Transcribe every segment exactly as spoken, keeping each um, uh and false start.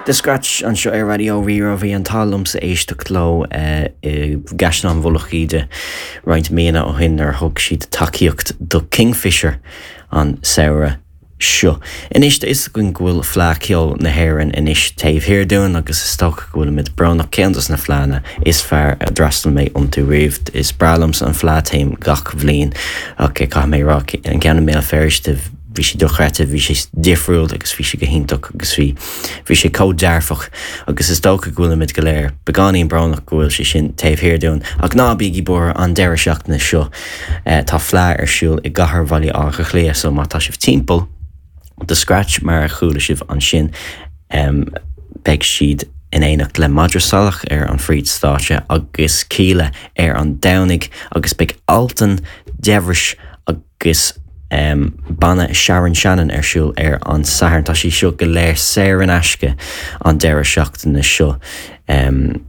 The Scratch anseo ar Raidió Rí-Rá bhí an t-ádh liomsa éisteacht leo i gCaisleán Mhullach Íde roinnt míonna ó shin nuair a thug siad tacaíocht do Kingfisher an samhradh seo. Anois tá a fhios againn go bhfuil Fleadh Cheoil na hÉireann anois taobh thiar dúinn agus is dócha go bhfuilimid brónach ceann dos na fleánna is fearr a d'fhreastail mé iontu riamh. Is breá liomsa an fleadh téim gach bhliain ach caithfidh mé rá an ceann i mBéal Feirste bhí sé dochreidte, bhí sé difriúil agus bhí sé go hiontach agus bhí bhí sé chomh dearfach agus is dócha go bhfuilimid go léir beagáinín brónach go bhfuil sé sin taobh thiar dúinn ach ná bígí buartha an deireadh seachtaine seo eh, tá fleadh ar siúl i gcathair Bhaile Átha Cliath so má tá sibh timpeall The Scratch mar a chuala sibh ansin um, beidh siad in éineacht le Madra Salach ar an phríomhstáitse agus Kíla ar an Domhnach agus beidh Altan Debhris agus um, banna Sharon Shannon ar siúl ar an Satharn tá sé seo go léir saor in aisce an deireadh seachtaine seo um,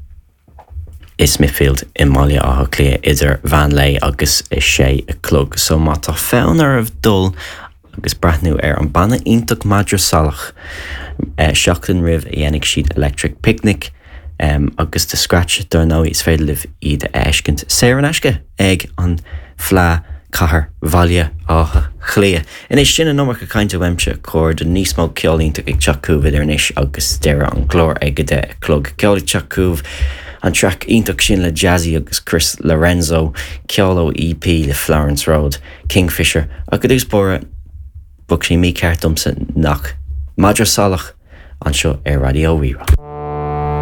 i Smithfield i mBaile Átha Cliath idir mheán lae agus a sé a chlog, so má tá fonn oraibh dul agus breathnú ar an banna iontach Madra Salach eh, seachtain roimh a dhéanfaidh siad Electric Picnic um, agus The Scratch dar ndóigh is féidir libh iad a fheiscint saor in aisce ag an Fleadh Cathair Bhaile Átha Cliath. Anois sin an iomarca cainte uaimse cóir do níos mó ceol iontach ag teacht chugaibh idir anois agus deireadh an chláir ag a deich a chlog. Ceol ag teacht chugaibh an traic iontach sin le Jazzy agus Chris Lorenzo, ceol ó EP le Florence Road, Kingfisher ach go dtús báire bheadh sé mícheart domsa nach Madra Salach anseo ar Raidió Rí-Rá.